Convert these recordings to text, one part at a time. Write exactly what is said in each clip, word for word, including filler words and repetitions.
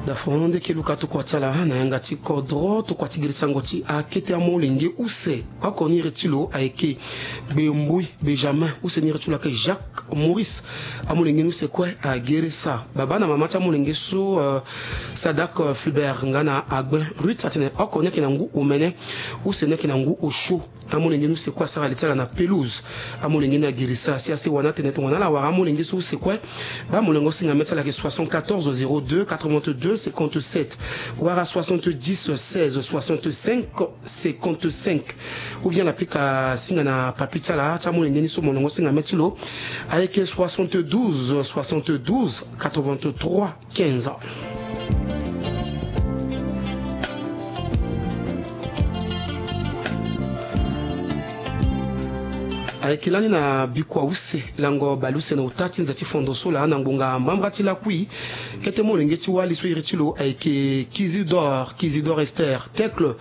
Dafono nde ke luka tokua ti ala na yanga ti kodro tokua ti girisango ti akete amolenge use. Oko ni iri ti lo ayeke Gbembui Benjamin, use ni iri ti lo ayeke Jacques Maurice. Amolenge ni use kue agere sa. Baba na mama ti amolenge so, euh, Sadak, euh, Fulbert nga na Agben Ruth atene oko ni ayeke na ngu omene. Use ni ayeke na ngu osio. Amolenge ni use kue asara li ti ala na pelouse. Amolenge ni agirisa si asewa ni atene tongana ala wara amolenge so use kue. Baa molenge osinga mê ti ala ayeke soixante-quatorze zéro deux quatre-vingt-deux cinquante-sept wala soixante-dix seize soixante-cinq cinquante-cinq. Ou bien ala pika singa na papi ti ala ti amolenge ni so molenge osinga mê ti lo ayeke soixante-douze soixante-douze quatre-vingt-trois quinze. Ayeke lani na bikua use lango baleuse na ota ti nze ti fondo so laa na ngbonga mbambra ti lakui. Kete molenge ti wali so iri ti lo ayeke Kizidor, Kizidor Esther Tekle.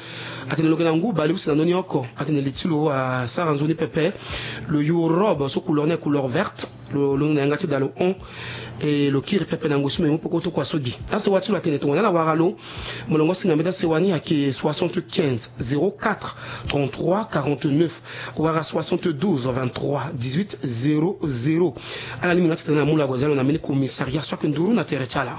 Atene lo yeke na ngu baleuse na ndö ni oko. Atene li ti lo asara nzoni pepe. Lo yu robe so couleur ni couleur verte. Lo londo na yanga ti da lo hon. E lo kiri pepe na ngoi so me mu peko tokua so gi. Asewa ti lo atene tongana ala wara lo, molenge osinga mê ti asewa ni ayeke soixante-quinze zéro quatre trente-trois quarante-neuf wala soixante-douze vingt-trois dix-huit zéro zéro. Ala lingbi nga ti tene na mu lago zia lo na mbeni commissariat so ayeke nduru na tere ti ala.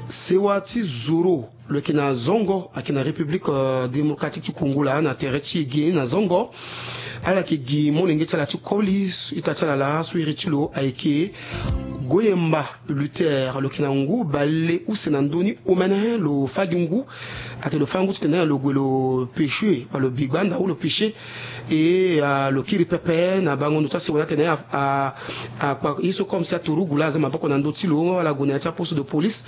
Sewa ti zoro lo yeke na Zongo, ayeke na République, euh, Démocratique ti Congo laa na tere ti e gi na Zongo. Ala yeke gi molenge ti ala ti koli ita ti ala laa so iri ti lo ayeke Goyemba Luther. Lo yeke na ngu baleuse na ndö ni omene. Lo fâ gi ngu. Atene lo fâ ngu titene lo gue lo pêcher wala lo bi gbanda ou lo pêcher. E, ah, lo kiri pepe na bango ndo ti asewa ni atene a, a, akpa ye so comme si aturugu laa aza maboko na ndö ti lo. Ala gue na ya ti aposte de police.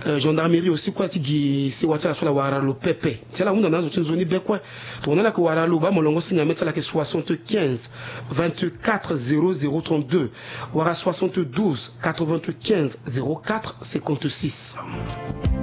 Euh, gendarmerie aussi kue ti gi sewa ti ala so ala wara lo pepe. Si ala hunda na azo ti nzoni be kue. Tongana ala yeke wara lo baa molenge osinga mê ti ala ayeke soixante-quinze vingt-quatre zéro zéro trente-deux wala soixante-douze quatre-vingt-quinze zéro quatre cinquante-six.